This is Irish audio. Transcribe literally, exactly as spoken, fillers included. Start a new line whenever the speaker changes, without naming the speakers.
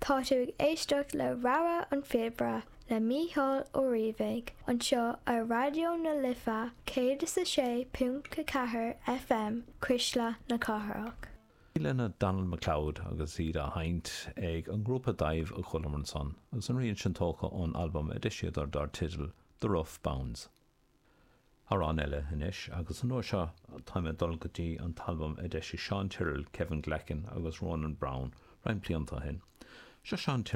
Tá tú ag éisteacht le rogha an phíobaire le Mícheál Ó Riabhaigh anseo ar Raidió na Life céad is a sé ponc ceathair FM Cuisle na Cathrach.
lena Donald MacLeod agus iad á sheinnt ag an ngrúpa Daimh a chualamar ansan, agus an rian sin tógtha ón albam a d'eisíodar dar teideal The Rough Bounds. Amhrán eile anois agus an uair seo táim ag dul go dtí an t-albam a d'eisigh Sean Tyrrell, Kevin Glackin agus Ronan Brown roinnt blianta ó shin. Seo Sean